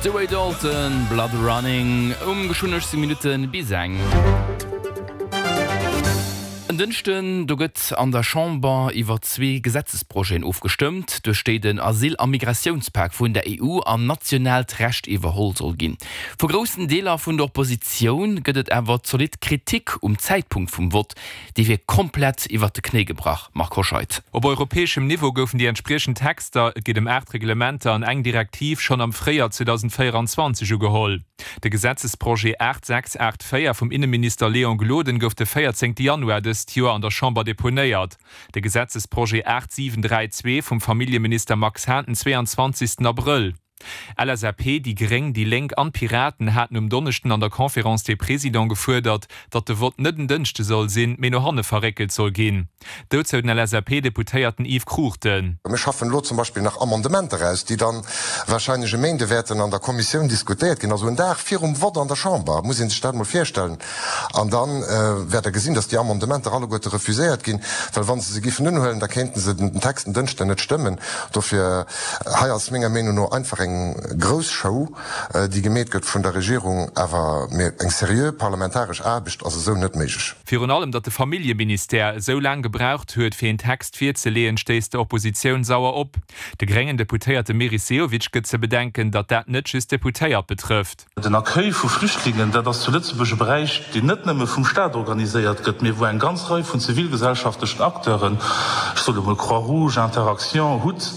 De Ray Dalton, Blood Running, um geschwënn 18 Minutte bis eng. En Dënschden, do gëtt an der Chamber iwwer zwee Gesetzesprojeten ofgestëmmt, duerch déi den Asyl a Migratiounspak vun der EU an nationaalt Recht iwwerholl soll ginn. Vu groussen Deeler vun der Oppositioun gëtt et awer zolidd Kritik um Zäitpunkt vum Vott. Dee wier komplett iwwert de Knéi gebrach, Marc Hoscheid. Op europäeschem Niveau goufen déi entspriechend Texter, et geet ëm 8 Reglementer an eng Direktiv, schonn am Fréijoer 2024 ugeholl. De Gesetzesprojet 8684 vum Inneminister Léon Gloden gouf de 14 Januar dëst Joer an der Chamber deponéiert, de Gesetzesprojet 8732 vum Familljeminister Max Hahn den 22 Abrëll. LSAP, déi Gréng, déi Lénk an d'Piraten haten um Donneschden an der Conférence des Présidents gefuerdert, datt de Vott net en Dënschde soll sinn, mee no hanne verréckelt soll ginn. Dozou den LSAP-Deputéierten Yves Cruchten. Mir schaffen elo zum Beispill nach Amendementer aus, déi dann wahrscheinlech e Méinde wäerten an der Kommissioun diskutéiert ginn, also en Dag virum Vott an der Chamber, muss ee sech dat emol virstellen. An da wäert Der gesinn, dass déi Amendementer alleguerte refuséiert ginn, well wa se se giffen unhuelen, da kéinten se den Text en Dënschden net stëmmen. Dofir, hei ass menger Meenung no einfach eng grouss Show, déi gemeet gëtt vun der Regierung, awer eng seriö parlamentaresch Aarbecht ass esou net méiglech. Virun allem, datt de Familljeministère esou laang gebraucht huet, fir een Text virzeleeën, stéisst der Oppositioun sauer op. De gréngen Deputéierte Meris Sehovic gëtt ze bedenken, datt dat net just Deputéiert betrëfft. Den Accueil vu Flüchtlingen, dat ass zu Lëtzebuerg e Beräich, deen net nëmme vum Staat organiséiert gëtt, mee wou eng ganz Rei vun zivilgesellschaftlechen Acteuren, ech soe mol Croix-Rouge, Interaction, hut,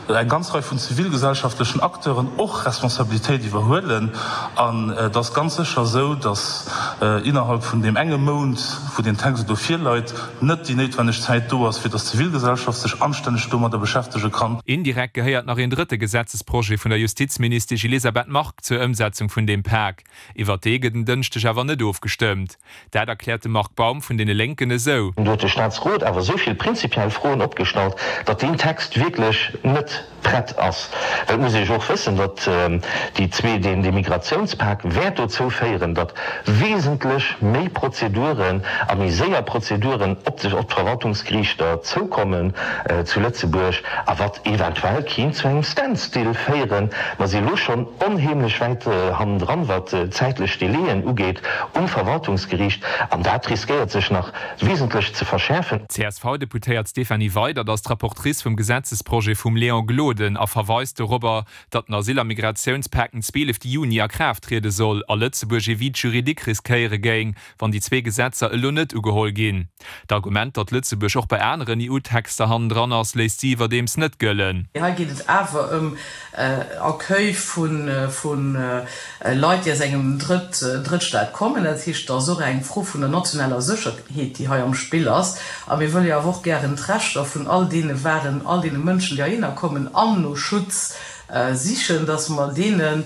eng ganz Rei vun zivilgesellschaftlechen Acteuren och Responsabilitéit iwwerhuelen. An et ass ganz sécher esou, datt innerhalb vun deem enge Mount, wou deen Text elo virleit, net déi néitwenneg Zäit do ass, fir datt d'Zivilgesellschaft sech anstänneg domadder beschäftege kann. Indirekt gehéiert nach een drëtte Gesetzesprojet vun der Justizministesch Elisabeth Margue zur Ëmsetzung vun deem Pak. Iwwert dee gëtt en Dënschdeg awer net ofgestëmmt. Dat erkläert de Marc Baum vun deene Lénken esou. Do huet de Staatsrot awer esou vill prinzipiell Froen opgestallt, datt deen Text wierklech net prett ass. Well et muss ee jo och wëssen, datt déi zwee, deen, dee Migratiounspak wäert dozou féieren, datt wesentlech méi Prozeduren a méi séier Prozeduren op de, op d'Verwaltungsgeriichter zoukommen zu Lëtzebuerg a wat eventuell kéint zu engem Standstill féieren. Mer si elo schonn onheemlech wäit hannendran, wat zäitlech Délaiën ugeet um Verwaltungsgeriicht, an dat riskéiert sech nach wesentlech ze verschäerfen. D'CSV-Deputéiert Stéphanie Weydert ass d'Rapportrice vum Gesetzesprojet vum Léon Gloden a verweist dorobber, datt den Asyl a Migratiounspak den 12 Juni a Kraaft triede soll a Lëtzebuerg ee Vide juridique riskéiere géing, wann déi zwee Gesetzer elo net ugeholl ginn. D'Argument, datt Lëtzebuerg och bei aneren EU-Texter hannendran ass, léisst si iwwerdeems net gëllen. Hei geet et awer ëm Accueil vu Leit, déi aus engem Drëttstaat kommen. Dat heescht, et ass och eng Fro vun der nationaler Sécherheet, déi hei am Spill ass. A mir wëlle jo awer och gären d'Rechter vun all deene waren, all deene Mënschen, déi heihinner kommen an no Schutz sichen, dass mer deenen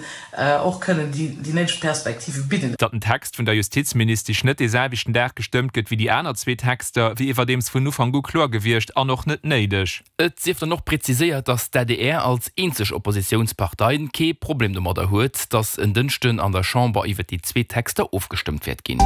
och kënnen déi néideg Perspektive bidden. Datt den Text vun der Justizministesch net dee selwechten Dag gestëmmt gëtt wéi déi aner zwee Texter, wier iwwerdeems vun Ufank u kloer gewiescht an och net néideg. Et sief dann och präziséiert, datt d'ADR als eenzeg Oppositiounspartei kee Problem domadder huet, datt en Dënschden an der Chamber iwwer déi zwee Texter ofgestëmmt wäert ginn.